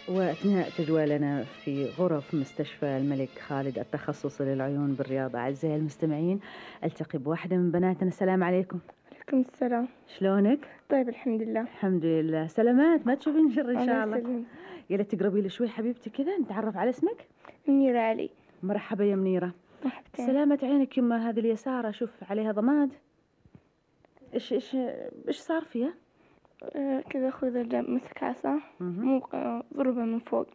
وأثناء تجولنا في غرف مستشفى الملك خالد التخصصي للعيون بالرياض أعزائي المستمعين ألتقي بواحدة من بناتنا. السلام عليكم. عليكم السلام. شلونك؟ طيب الحمد لله. الحمد لله. سلامات، ما تشوفين شر إن شاء الله. يسلمك. يلا تقربي لي شوي حبيبتي كذا نتعرف على اسمك. منيرة علي. مرحبا يا منيرة. مرحبتين. سلامة عينك يما، هذه اليسار أشوف عليها ضماد. إيش صار فيها؟ كذا أخوي ذا مسك عصا ضربه من فوق.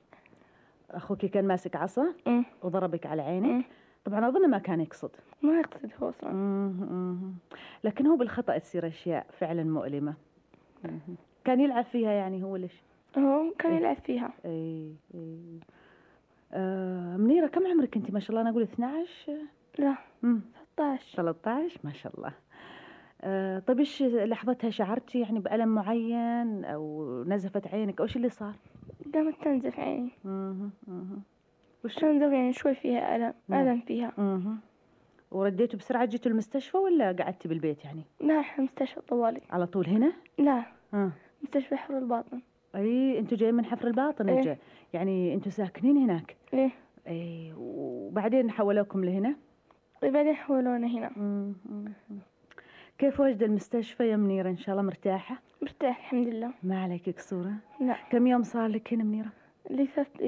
أخوك كان ماسك عصا وضربك على عينك. طبعا أظن ما كان يقصد. ما يقصد هو أصلا. لكن هو بالخطأ تصير أشياء فعلا مؤلمة. كان يلعب فيها يعني هو ليش؟ هو كان يلعب فيها. اي. منيرة كم عمرك انت؟ ما شاء الله انا اقول 12. لا 13 ما شاء الله. طيب ايش لحظتها شعرتي يعني بألم معين او نزفت عينك او ايش اللي صار؟ قامت تنزف عيني. وش تنزف يعني شوي فيها ألم فيها. ورديتوا بسرعة جيتوا المستشفى ولا قعدتي بالبيت يعني؟ لا احنا مستشفى طوالي. على طول هنا؟ لا مستشفى حفر الباطن. اي انتوا جايين من حفر الباطن. إيه؟ يعني انتوا ساكنين هناك؟ ايه. اي وبعدين حولوكم لهنا؟ بعدين حولونا هنا. كيف وجد المستشفى يا منيرة؟ ان شاء الله مرتاحة؟ مرتاح الحمد لله. ما عليك كسورة؟ لا. كم يوم صار لك هنا منيرة؟ لي 3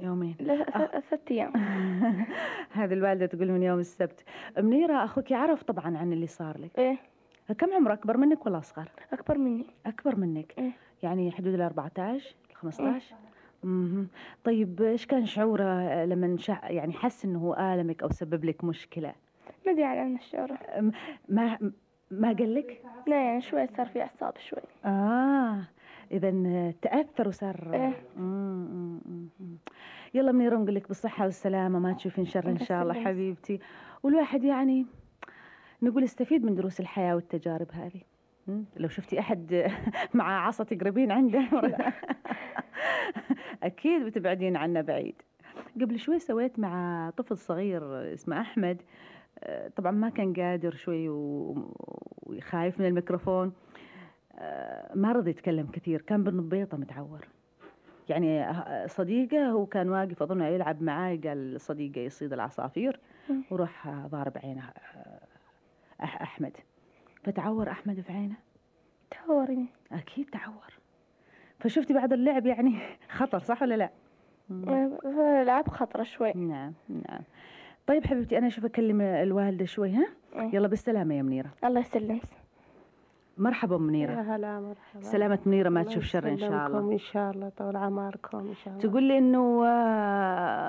يومين. لا 3 أيام. هذه الوالدة تقول من يوم السبت. منيرة أخوك يعرف طبعا عن اللي صار لك؟ إيه. كم عمره؟ أكبر منك ولا أصغر؟ أكبر مني. أكبر منك. إيه؟ يعني حدود 14 15. طيب إيش كان شعوره لما يعني حس إنه هو آلمك أو سبب لك مشكلة؟ ما أدري عن الشعور. ما قال لك؟ لا يعني شوي صار في أعصاب شوي. إذا تأثر وصار. إيه؟ يلا منيرة نقول لك بالصحة والسلامة، ما تشوفين شر إن شاء الله حبيبتي. والواحد يعني نقول استفيد من دروس الحياة والتجارب هذه. لو شفتي أحد مع عصا تقربين عنده أكيد بتبعدين عنه بعيد. قبل شوي سويت مع طفل صغير اسمه أحمد. طبعا ما كان قادر شوي وخايف من الميكروفون. ما رضي يتكلم كثير، كان بالنبيطة متعور. يعني صديقه هو كان واقف أظن يلعب معاي، قال صديقه يصيد العصافير وروح ضارب عينه أحمد، فتعور أحمد في عينه. تعورني. أكيد تعور. فشفتي بعد اللعب يعني خطر صح ولا لا؟ لعب خطرة شوي. نعم. طيب حبيبتي أنا أشوف أكلم الوالدة شوي. يلا بالسلامة يا منيرة. الله يسلمك. مرحبا منيرة. يا هلا مرحبا. سلامة منيرة، ما تشوف شر إن شاء الله. إن شاء الله طول عمركم إن شاء الله. تقول لي إنه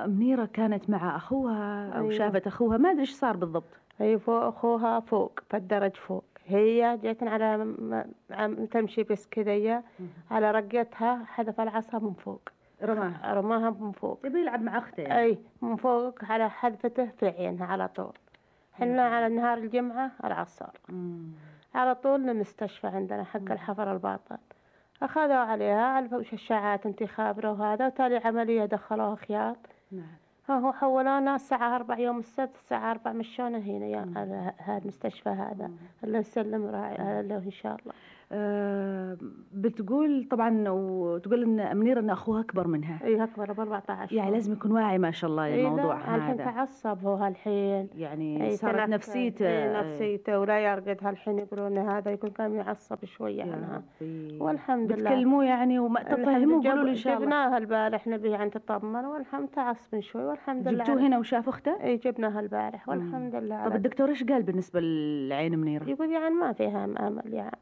منيرة كانت مع أخوها أو أيوة. شافت أخوها، ما أدري إيش صار بالضبط. هي فوق أخوها فوق في الدرج فوق، هي جت على تمشي بس كذا على رقتها حذف العصا من فوق. رماها من فوق. يبي يلعب مع أخته يعني. أي من فوق على حذفته في عينها على طول. حنا على نهار الجمعة العصر على طول للمستشفى عندنا حق الحفر الباطن. أخذوا عليها على شاشات انتخابره وهذا، وتالي عملية دخلوها خياط. هو حولونا الساعة 4 يوم السبت الساعة 4 مشونا هنا يا هذا المستشفى هذا. الله يسلم راعي له إن شاء الله. بتقول طبعا وتقول إن منيرة إن أخوها أكبر منها. إيه أكبر ب14. يعني لازم يكون واعي ما شاء الله الموضوع هذا. الحين تعصب هو هالحين. يعني صارت نفسيته. نفسيته ولا يرقد هالحين يقولون هذا يكون كان يعصب شوية عنها. والحمد لله. بتكلموه يعني وما تفهموه قولوا له إن شاء الله. جبناها البارح نبي عن تطمن والحمد تعصب شوي والحمد لله. جبتوه هنا وشاف أخته؟ إيه جبناها البارح والحمد لله. طب الدكتور إيش قال بالنسبة للعين منيرة؟ يقول يعني ما فيها أمل يعني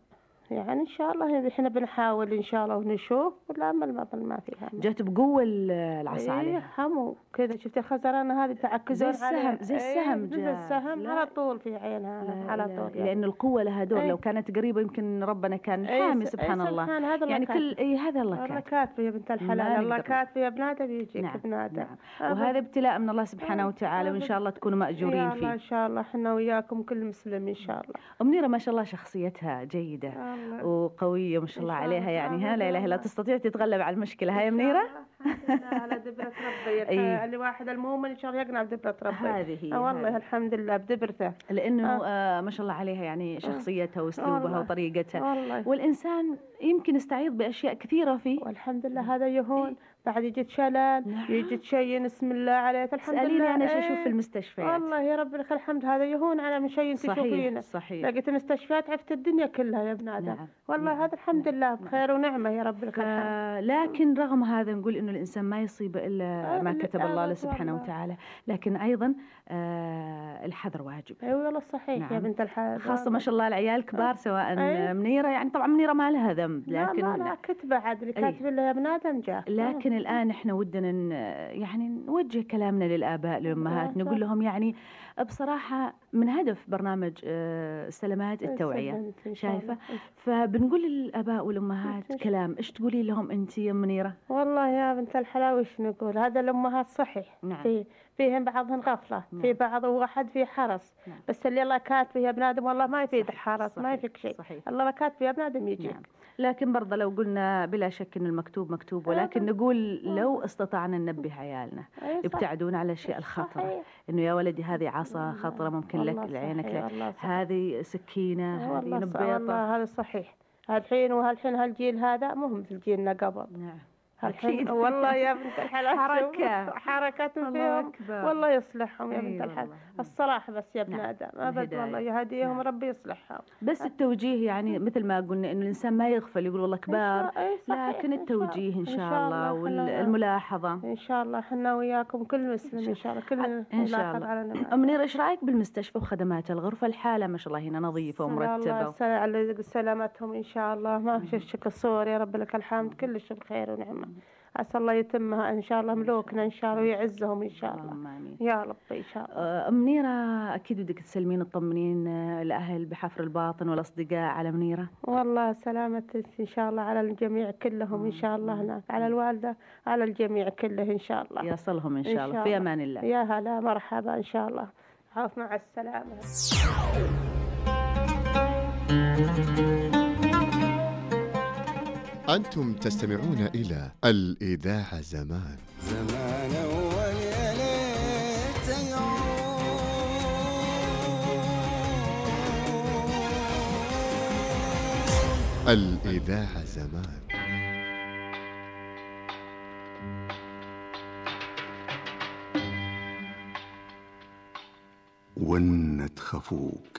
إن شاء الله إحنا بنحاول إن شاء الله ونشوف والأمل ما فيها أمل. جات بقوة العصا عليها. إيه حمو كذا شفت الخزرانة هذه تعكزون زي السهم زي السهم على طول في عينها على طول يعني. لأن القوة لها دور. لو كانت قريبة يمكن ربنا كان حامي سبحان الله. يعني كل هذا الله كاتب. الله كاتب يا بنت الحلال. الله كاتب يا بنادم بيجيك بنادم. وهذا ابتلاء من الله سبحانه وتعالى وإن شاء الله تكونوا مأجورين فيه. إن شاء الله إحنا وياكم كل مسلم إن شاء الله. منيرة ما شاء الله شخصيتها جيدة وقوية ما شاء الله عليها يعني. لا إله إلا تستطيع تتغلب على المشكلة. هاي منيرة. الحمد لله على دبرة ربي. إيه. الواحد المؤمن إن شاء الله يقنع بدبرة ربي. هذه هي والله هذه. الحمد لله بدبرته. لأنه ما شاء الله عليها يعني شخصيتها وأسلوبها والله. وطريقتها، والله والإنسان يمكن يستعيض بأشياء كثيرة فيه. والحمد لله هذا يهون. بعد يجي شلل، نعم. يجي تشين، بسم الله عليك الحمد لله. اسأليني أنا شو أشوف إيه. في المستشفيات. والله يا رب لك الحمد، هذا يهون على من شيء تشوفينه. صحيح. لقيت المستشفيات عرفت الدنيا كلها يا ابن آدم. نعم. والله نعم. هذا الحمد لله بخير ونعمة يا رب لك الحمد. لكن رغم هذا نقول إنه الإنسان ما يصيب إلا ما كتب الله له سبحانه والله. وتعالى، لكن أيضا الحذر واجب. اي والله صحيح. نعم. يا بنت الحلال. خاصة ما شاء الله العيال كبار، سواء أي. منيرة، يعني طبعا منيرة ما لها ذنب، لكن لا كتبه عاد اللي كاتب له يا ابن آدم جاء. لكن الآن إحنا ودنا يعني نوجه كلامنا للآباء للأمهات، نقول لهم يعني بصراحة من هدف برنامج سلامات التوعية، شايفة؟ فبنقول للآباء والأمهات كلام، إيش تقولي لهم أنت يا منيرة؟ والله يا بنت الحلال وش نقول، هذا الأمهات صحيح. نعم. فيهم بعضهم غفلة. نعم. في بعض واحد فيه حرص. نعم. بس اللي الله كاتبه يا ابن آدم والله ما يفيد صحيح. حرص. ما يفيك شيء. صحيح. الله ما كاتبه يا ابن آدم يجيك. نعم. لكن برضه لو قلنا بلا شك إن المكتوب مكتوب، ولكن نقول لو استطعنا ننبه عيالنا يبتعدون على الأشياء الخطرة، صحيح. إنه يا ولدي هذه عصا خطرة ممكن لك والله لعينك، صحيح. والله صحيح. هذه سكينة، هذه والله نبيطة. والله هذا صحيح. هالحين هالجيل هذا مو مثل جيلنا قبل. نعم. الحين والله يا بنت الحلال حركات الله فيهم. أكبر. والله يصلحهم يا أي بنت الحلال. والله. الصراحة بس يا ابن نعم. آدم أبد الهداية. والله يهديهم. نعم. ربي يصلحهم. بس التوجيه يعني مثل ما قلنا إنه الإنسان ما يغفل يقول والله كبار، أي صحيح. لكن التوجيه إن شاء الله الله. والملاحظة. إن شاء الله حنا وياكم كل مسلم إن شاء الله كل إن شاء نلاحظ الله. على نعمة. منيرة إيش رأيك بالمستشفى وخدمات الغرفة؟ الحالة ما شاء الله هنا نظيفة ومرتبة. على سلامتهم إن شاء الله. ما في شك الصور يا رب لك الحمد كلش بخير ونعمة. عسى الله يتمها إن شاء الله ملوكنا إن شاء الله ويعزهم إن شاء الله. يا رب إن شاء الله. منيرة أكيد بدك تسلمين تطمنين الأهل بحفر الباطن والأصدقاء على منيرة. والله سلامة إن شاء الله على الجميع كلهم إن شاء الله هناك، على الوالدة على الجميع كله إن شاء الله. يصلهم إن شاء الله. في أمان الله. يا هلا مرحبا إن شاء الله. عاف مع السلامة. أنتم تستمعون إلى الإذاعة زمان أول يا ليت الإذاعة زمان. ونت خفوق